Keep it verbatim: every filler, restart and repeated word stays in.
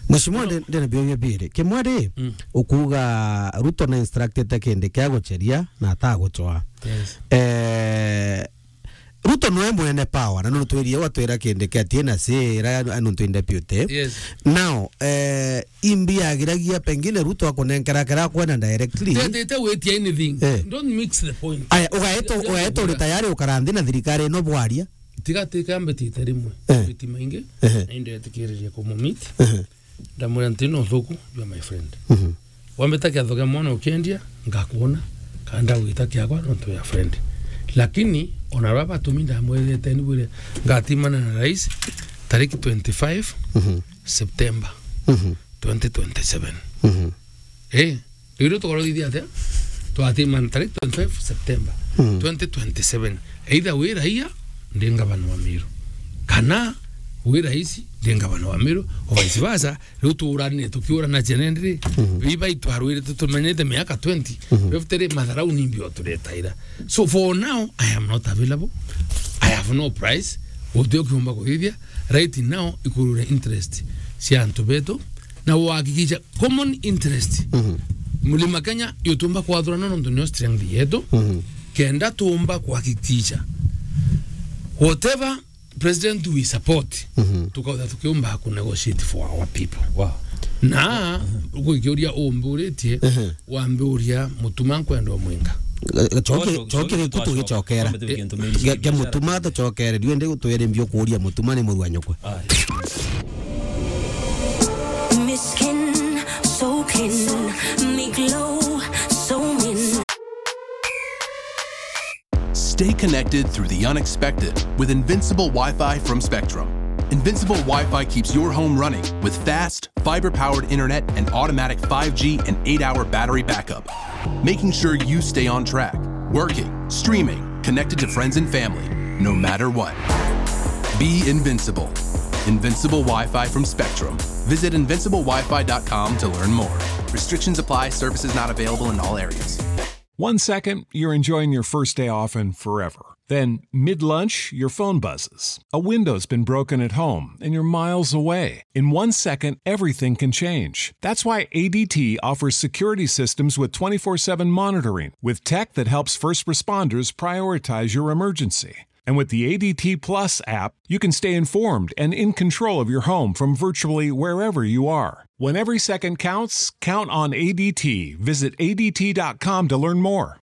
Mheshimiwa, ndi- ndina biuria biiri. Kimwe ri, Mm. ukuuga Ruto na instructed kindi kia gucheria na ataguchoa. Yes. Eh, Ruto noe mwene power, na nutwirie watwira kindi kia T N C ira ya nuntu in deputy. Yes. Now, eh, imbi agiragia pengine Ruto akunenkera kira akwenda directly. Tetete witia anything. Eh. Don't mix the point. Aya, ugaetwo, ugaetwo uri tayari ukara nthi na thirikari ino bwaria. Tiga tika mbitite rimwe. Eh. Mbiti maingi. Ehe. Na indetikiririe kumumit. Ehe. Ndamwira nti no thuku, you are my friend. Mhm. Wambita kiatho kia mwana ukiendia, ngakuona, kana ndagwita kiakwa nontu ya friend. Lakini, ona baba batumi ndamwirite ni bwire, ngatimana na rais, tariki twenty-five Mhm. September Mhm. twenty twenty-seven. Mhm. Eh, riu tukorogithia atia? Twatimana tariki twenty-five September Mhm. twenty twenty-seven. Either wi raia, ndi ngavana wa Meru. Kana wi rais, ndi ngavana wa Meru, or vice versa, riu tuurane, tukiurana chenendri, Mhm. biba itwarwirite tumenyete miaka twenty, Mhm. fifty ri, matharau ni mbio turetaira. So for now, I am not available. I have no price. Guti ukiumba kuthithia. Right now, ikurure interest cia antu betu, na uhakikisha common interest. Mhm. Mlima Kenya, yutumba kwathurana nontu nio strength yetu. Mhm. Kenda tumba kuhakikisha whatever president we support, Mhm. tukautha tukiumba ku negotiate for our people. Wow. Na, Mhm. Ugukiuria umburitie, Mhm. Wambiuria Mutuma nkwenda umwinga. Gachoke, Gachoke, choke, gachoke, tugichokera. Twambe tuge ntumishi Ge-, ge biashara. Mutuma tuchokere, ndiu ndi twere mbio kuuria Mutuma ni murua nyukwe. Aye. Miskin, so clean, me glow, so mean. Stay connected through the unexpected with Invincible Wi-Fi from Spectrum. Invincible Wi-Fi keeps your home running with fast, fiber-powered internet and automatic five G and eight-hour battery backup, making sure you stay on track, working, streaming, connected to friends and family, no matter what. Be invincible. Invincible Wi-Fi from Spectrum. Visit invincible wi fi dot com to learn more. Restrictions apply. Services not available in all areas. One second, you're enjoying your first day off and forever. Then, mid lunch, your phone buzzes. A window's been broken at home and you're miles away. In one second, everything can change. That's why A D T offers security systems with twenty-four seven monitoring, with tech that helps first responders prioritize your emergency. And with the A D T Plus app, you can stay informed and in control of your home from virtually wherever you are. When every second counts, count on A D T. Visit A D T dot com to learn more.